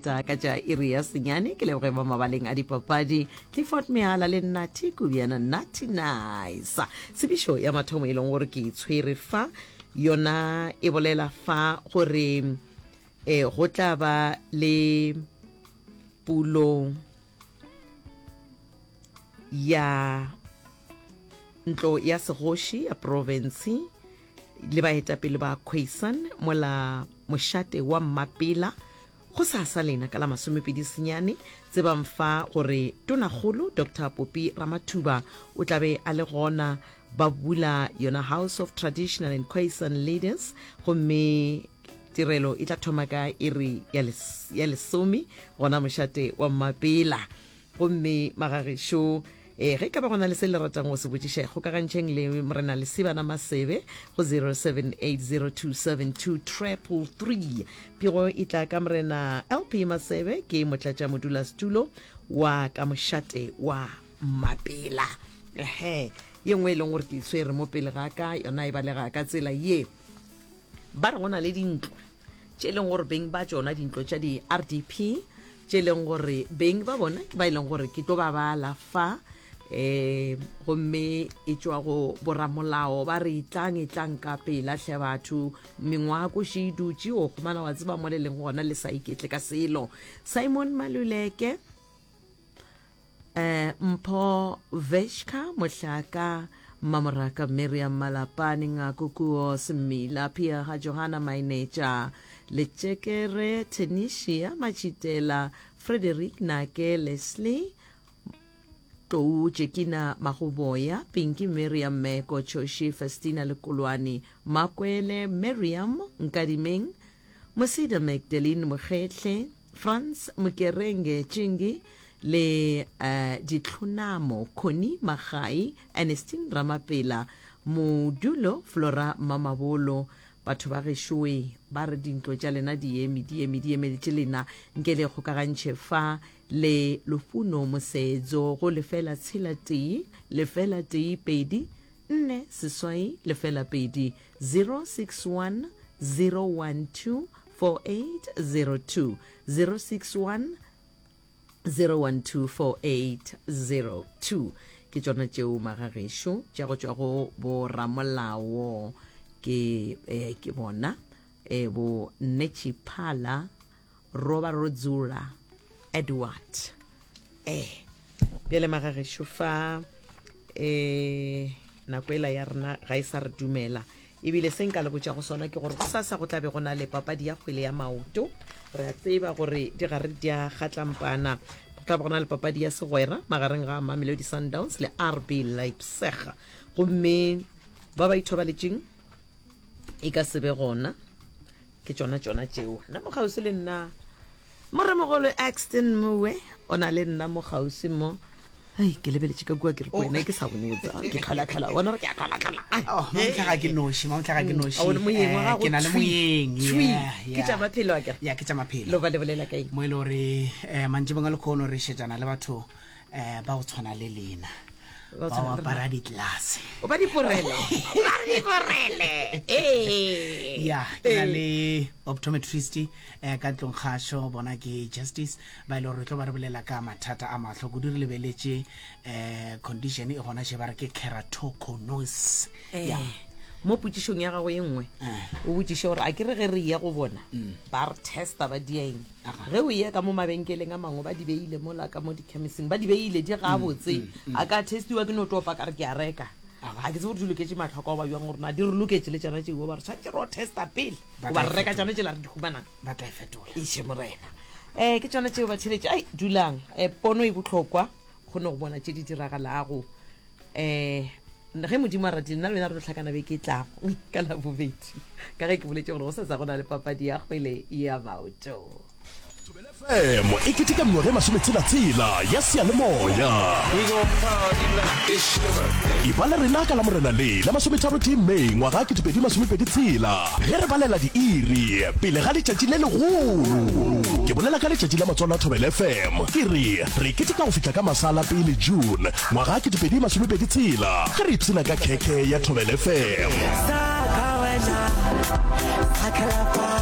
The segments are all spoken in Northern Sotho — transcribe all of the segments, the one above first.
feta ka tša iri ya senyane. Ke leboge ba mabaleng a dipapadi Clifford Mehala le Nathi Kubiana Nathi Nice. Tsebišo ya mathomo e leng gore ke e tshwere fa yona e bolela fa gore eh, go tla ba le pulo ya ntlo ya segoši ya profense le baetapele ba Khoisan mola mošate wa Mmapela go sa sa lena ka la masomepedi senyane. Tsebang fa gore Tonakgolo Doctor Popi Ramathuba o tla be a le gona ba bula yona House of Traditional and Khoisan Leaders gomme tirelo e tla thoma ka iri ya lesome gona mošate wa Mmapela. Gomme magagešo, ee, ge e ka ba go na le se le ratang go se botšiša, ikgokagantšheng le Morena Lesibana Masebe go 0780272333. Pego e tla ka Morena LP Masebe, ke motlatšamodulasetulo wa ka mošate wa Mmapela. Ehe, ye nngwe e leng gore ke e tshwere mo pele ga ka, yona e balega ka tsela ye. Ba re go na le dintlo tše e leng gore beng ba tšona dintlo tša di-RDP tše e leng gore beng ba bona ke ba e leng gore ke tlo ba bala fa eh gomme e tšwa go boramolao ba re itlang itlang ka pela hle batho mengwako še e dutše o kgomana wa tseba mo le leng gona le sa iketle ka selo Simon Maluleke Eh, Mpho Veshka, Mohlaka, Mmamoraka Miriam Malapane, Ngako Kuo Semmila, Piaga Johanna Mainetša, Letšekere Tenisia Matšhitela, Frederick Nake Leslie, Tlou Jekina Magoboya, Pinky Miriam Meko, Choshi Festina Lekolwane, Makwele Miriam Nkadimeng, Mosida Magdalene Mokgehle, Frans Mokerenge Tšingi le uh, Ditlhonamo Connie Magai, Ernestine Ramapela, Modulo Flora Mamabolo. Batho ba gešoe ba re dintlo tša lena di eme, di eme, di emeletše lena. Nke le kgokagantšhe fa le Lufuno Mosedzo go lefela tshela tee, lefela tee pedi, nne seswai lefela pedi, 061 012 4802 061 012 4802 ke tšona tšeo magagešo tša go tšwa go boramolao ke eh, ke bona eh, bo Netshiphala Roba Rodzula Edward eh bjale magagešo fa eh nako ela ya rena ga e sa re dumela ebile se nka le botša go sona ke gore gosasa go tla be go na le papadi ya kgwele ya maoto re a tseba gore di gare di a kgatlampana go tla be go na le papadi ya segwera magareng ga Mamelodi Sundowns le RB Leipzig gomme ba ba ithobaletšeng e ka se be gona ke tšona tšona tšeo nna mo kgauswi le nna moremogolo Axton Moe o na le nna mo kgauswi mo Ai, ke lebeletše ka kua ke re ko wena ke sa bone botsa ke tlhola-tlhola bona gore ke a tlhola-tlhola Ai, Oh, mamotlha ga ke noši mamotlha ga ke noši A o le moyeng wa Eh, gago ke na le thwi, moyeng thwi. yeah, ke yeah. tša maphelo a kere ya ke tša maphelo lo ba le bolela ka eng mo e le gore um mantšibong a lekgono re šetšana le batho um ba go tshwana le lena Ba ba tshwana le apara ditlelase o ba diporele ba diporele ee ya ke na le optometrist um ka ntlong kgašo bona ke justice ba e le gore re tlo ba re bolela ka mathata a mahlo kudu re lebeletše um condition e gona še ba re ke keratoconus Eh, ya mo potšišong ya gago ye nngwe Eh. o botšiše gore a ke re ge re ya go bona ba re testa ba dieng Aga. ge o ya ka mo mabenkeleng a mangwe ba di beile mola ka mo dichemising ba di beile di gabotse a ka testiwa ke no topa ka re ke a reka Aga. ga ke tsebe gore di loketše matlho ka goba bjang gore na di re loketše le tšona tšeo ba re tshwanetse re o testa pele Ba goba tla re e reka fetola. tšona tšela re di humanang ba tla e fetola Eiše Morena. Eh, ke tšona tšeo batheletši. Ai, dulang. Eh, pono e bohlokwa, kgone go bona tše di diragalago. Eh, ge Modimo a ratile, nna le wena re tlo hlakana beke e tlago ka Labobedi. Ka ge ke boletše gore go sasa go na le papadi ya kgwele ya maoto. Thobela FM e keteka mengwaga e masometshela-tshela ya seyalemoya. Eba le rena ka Lamorena le la masometharotee May ngwaga 2026 ge re balela diiri pele ga letšatši le legolo. Ke bolela ka letšatši la matswalo a Thobela FM. Ke re re keteka go fihla ka masa a la pele June ngwaga 2026 ge re ipshina ka khekhe ya Thobela FM.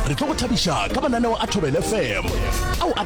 Re tlo go thabiša ka mananeo a Thobela FM ao a.